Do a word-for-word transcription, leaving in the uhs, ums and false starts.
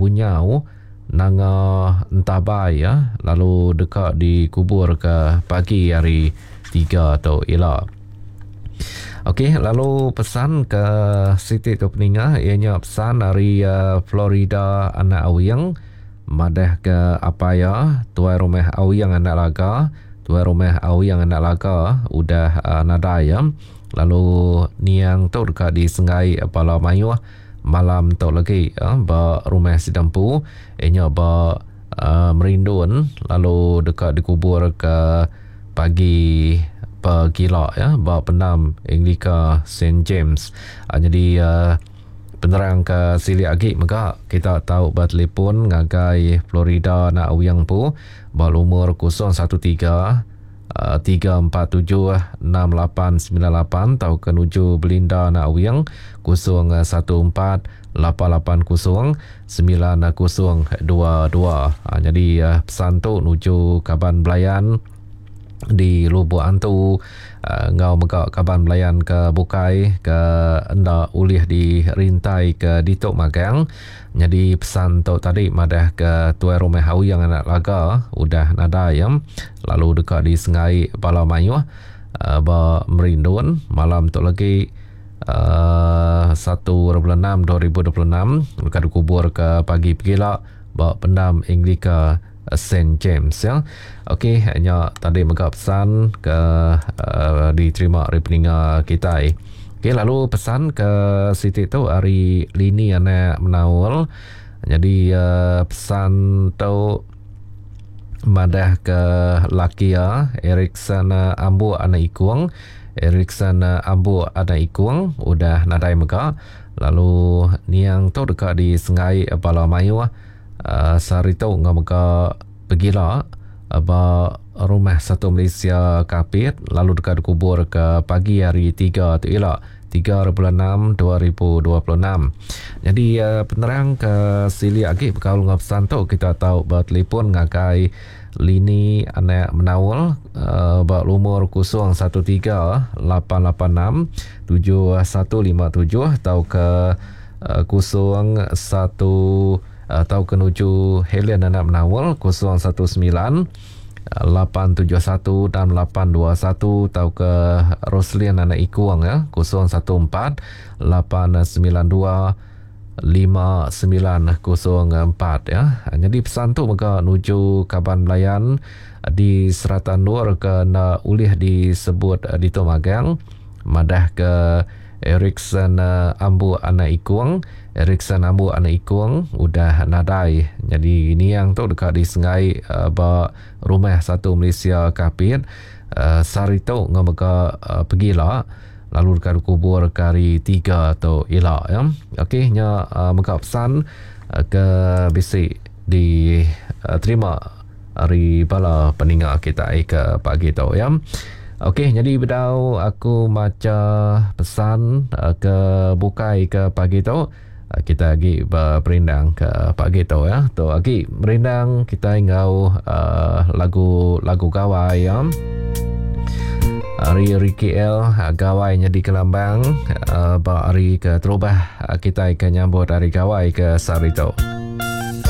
Bunyau Nanga Entabai ya, lalu deka dikubur ke pagi hari tiga tu ila. Okey, lalu pesan ke siti tu peninga ianya pesan dari uh, Florida anak Awing madah ke apa ya tuai rumah Awing anak Laga, tuai rumah Awing anak Laga udah uh, nadai ya. Lalu niang tu deka disenggai bala mayuh malam tu lagi uh, ba rumah Sidampu ianya ba uh, Merindun, lalu deka dikubur ke pagi pegila ya ba pendam Anglika Saint James. Uh, jadi uh, penerang ke silik agi mega kita tahu ba telefon ngagai Florida nak Awing pu ba lumur kosong satu tiga tiga empat tujuh enam lapan sembilan lapan atau ke nuju Belinda nak Awing kosong satu empat lapan lapan kosong sembilan kosong dua dua. Ha, jadi uh, pesan tu nuju kaban belayan di Lubuk Antu, uh, ngau mega kaban belayan ke Bukai ke enda ulih dirintai ke Ditok Magang. Jadi pesan tu tadi madah ke tuai rumah Awing anak Laga udah nadai ya, lalu deka disengai bala mayuh uh, ba Merindun malam tu lagi uh, satu bulan enam dua ribu dua puluh enam deka dikubur ke pagi pegila ba pendam Anglika Saint James ya. Okey, nya tadi mega pesan ke uh, diterima dari peninga kita. Okey, lalu pesan ke siti tu hari lini anak Menaul. Jadi uh, pesan tu madah ke laki ya Erikson Ambu anak Ikung. Erikson Ambu anak Ikung udah nadai mega. Lalu niang tu deka disengai bala mayuh Uh, sehari tu ngau mega pegila uh, ba rumah Satu Malaysia Kapit, lalu deka dikubur ke pagi hari tiga tu ila tiga bulan enam dua ribu dua puluh enam. Jadi uh, penerang ke silik agi bekaul ngau pesan tu kita tahu bertelefon ngagai Lini anak Menaul uh, ba lumur kosong satu tiga lapan lapan enam tujuh satu lima tujuh atau ke uh, kosong satu atau ke nuju Helen anak Menaul kosong satu sembilan lapan tujuh satu dan lapan dua satu atau ke Roslin anak Ikuang ya kosong satu empat lapan sembilan dua lima sembilan kosong empat ya. Jadi pesan tu mega nuju kaban belayan di Seratan Nur ke na ulih disebut di Tomagang madah ke Erikson Ambu anak Ikung, Erikson Ambu anak Ikung udah nadai. Jadi ini yang tu dekat disengai uh, ba rumah Satu Malaysia Kapit uh, sehari tu ngau mega uh, pegila lalu dekat kubur ke hari tiga tu ila ya. Okey, nya uh, mega pesan uh, ke bisi diterima uh, hari bala peninga kita ke pagi tu ya. Okey, jadi bedau aku maca pesan uh, ke bukai ke pagi tu, uh, kita lagi berperindang ke pagi tu ya. Tu lagi merindang kita ngau uh, lagu-lagu gawai ya. Hari Ricky L gawai nya di Kelambang uh, ba hari ke terubah uh, kita ke nyambut hari gawai ke sehari tu.